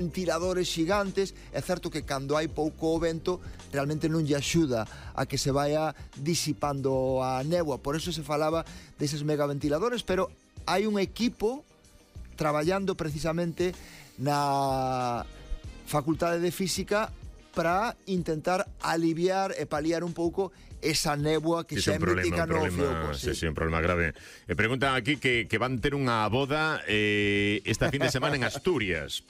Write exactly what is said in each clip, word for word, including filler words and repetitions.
ventiladores xigantes. É certo que cando hai pouco vento realmente non lle axuda a que se vaya disipando a néboa, por eso se falaba deses megaventiladores, pero hai un equipo traballando precisamente na Facultade de Física para intentar aliviar e paliar un pouco esa néboa que sí, xa é mítica no Fioco. Sí, sí, un problema grave. E preguntan aquí que, que van ter unha boda eh, esta fin de semana en Asturias.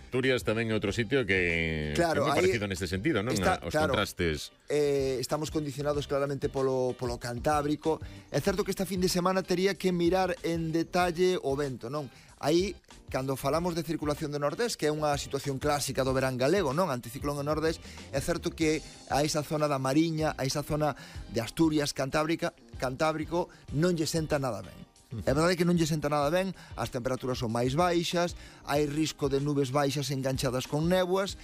Asturias tamén é outro sitio que claro, é moi parecido neste sentido, non? Está, Os claro, contrastes. Eh, estamos condicionados claramente polo, polo Cantábrico. É certo que esta fin de semana tería que mirar en detalle o vento, non? Aí, cando falamos de circulación de Nordés, que é unha situación clásica do verán galego, non? Anticiclón en Nordés, é certo que a esa zona da Mariña, a esa zona de Asturias, Cantábrica, Cantábrico, non lle senta nada ben. É verdade que non lle senta nada ben, as temperaturas son máis baixas, hai risco de nubes baixas enganchadas con néboas,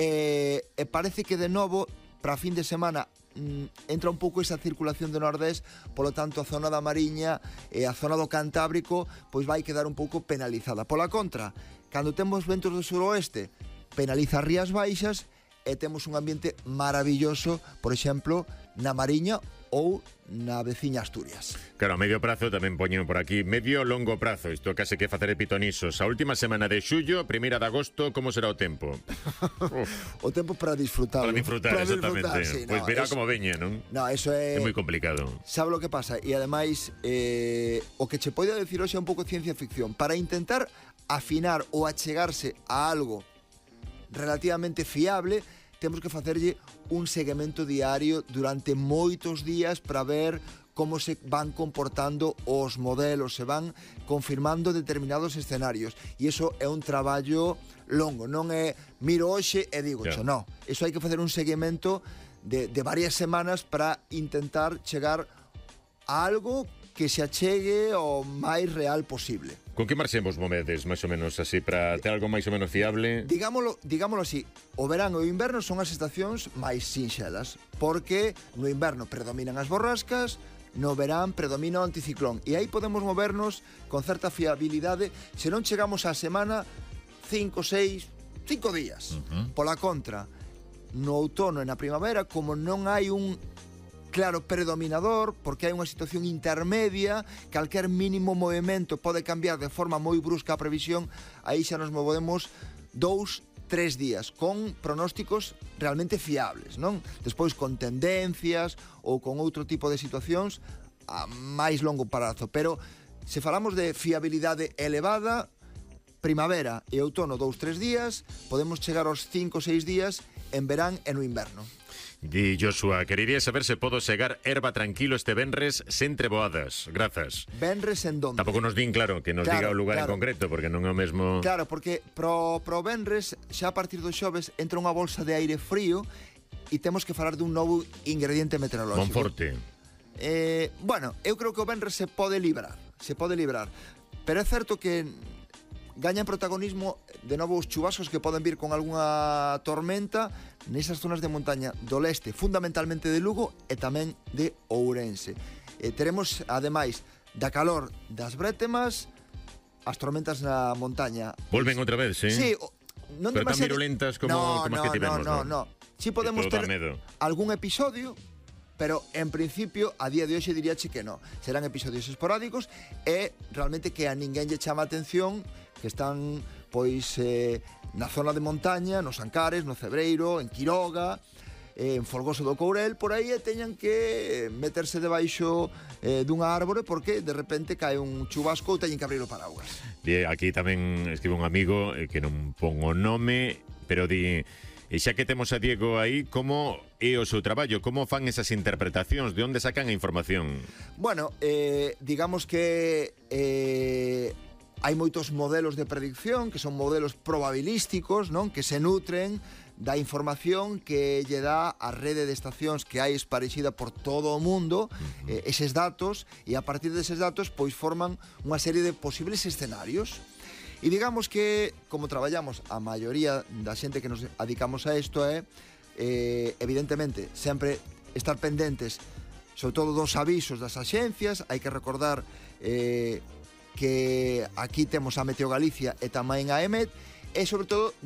e, e parece que de novo, para a fin de semana, mm, entra un pouco esa circulación de Nordés, polo tanto a zona da Mariña e a zona do Cantábrico pois vai quedar un pouco penalizada. Pola contra, cando temos ventos do suroeste, penaliza as rías baixas e temos un ambiente maravilloso, por exemplo, na Mariña ou na veciña Asturias. Claro, a medio prazo tamén poñen por aquí, medio longo prazo, isto case que facer epitonisos. A última semana de xullo, primeira de agosto, como será o tempo? O tempo para disfrutar. Para disfrutar, para exactamente. Sí, pois pues no, verá es... como veña, non? No, eso é... É moi complicado. Sabe lo que pasa? E ademais, eh, o que che poida decir hoxe é un pouco ciencia ficción. Para intentar afinar ou achegarse a algo relativamente fiable, temos que facerlle un seguimento diario durante moitos días para ver como se van comportando os modelos, se van confirmando determinados escenarios. E iso é un traballo longo, non é miro hoxe e digo, yeah. non. Iso hai que facer un seguimento de, de varias semanas para intentar chegar a algo que se achegue o máis real posible. Con que marxen vos movedes, máis ou menos así, para ter algo máis ou menos fiable? Digámoslo, digámoslo así, o verán e o inverno son as estacións máis sinxelas, porque no inverno predominan as borrascas, no verán predomina o anticiclón, e aí podemos movernos con certa fiabilidade se non chegamos á semana cinco, seis, cinco días. Uh-huh. Pola contra, no outono e na primavera, como non hai un claro predominador, porque hai unha situación intermedia, calquer mínimo movimento pode cambiar de forma moi brusca a previsión, aí xa nos movemos dous, tres días, con pronósticos realmente fiables, non? Despois con tendencias ou con outro tipo de situacións a máis longo prazo, pero se falamos de fiabilidade elevada, primavera e outono dous, tres días, podemos chegar aos cinco, seis días en verán e no inverno. Di Joshua, querería saber se podo segar erva tranquilo este venres sen treboadas. Grazas. Venres en donde? Tampouco nos din, claro, que nos claro, diga o lugar claro. en concreto, porque non é o mesmo... Claro, porque pro, pro venres, xa a partir do xoves, entra unha bolsa de aire frío e temos que falar dun novo ingrediente meteorológico. Monforte. Eh, bueno, eu creo que o venres se pode librar, se pode librar. Pero é certo que gañan protagonismo de novo os chubascos que poden vir con algunha tormenta nesas zonas de montaña do leste, fundamentalmente de Lugo e tamén de Ourense. Eh, teremos, ademais, da calor das brétemas, as tormentas na montaña. Volven outra vez, sí? Sí, non pero demasiado... tan virulentas como, no, como no, as que tivemos, no, non? no, no. Si podemos ter algún episodio, pero en principio, a día de hoxe diríache que no. Serán episodios esporádicos e realmente que a ninguén lle chama a atención que están, pois, eh, na zona de montaña, nos Ancares, no Cebreiro, en Quiroga, eh, en Folgoso do Courel, por aí, e teñan que meterse debaixo eh, dunha árbore porque de repente cae un chubasco ou teñen que abrir o paraguas. Di, aquí tamén escribe un amigo eh, que non pon o nome, pero di... E xa que temos a Diego aí, como é o seu traballo? Como fan esas interpretacións? De onde sacan a información? Bueno, eh, digamos que eh, hai moitos modelos de predicción que son modelos probabilísticos, non? Que se nutren da información que lle dá a rede de estacións que hai esparexida por todo o mundo, uh-huh. eh, eses datos, e a partir deses datos pois forman unha serie de posibles escenarios. E digamos que, como traballamos a maioría da xente que nos adicamos a isto é, eh, evidentemente, sempre estar pendentes, sobre todo dos avisos das axencias. Hai que recordar eh, que aquí temos a Meteo Galicia e tamén a EMET, e sobre todo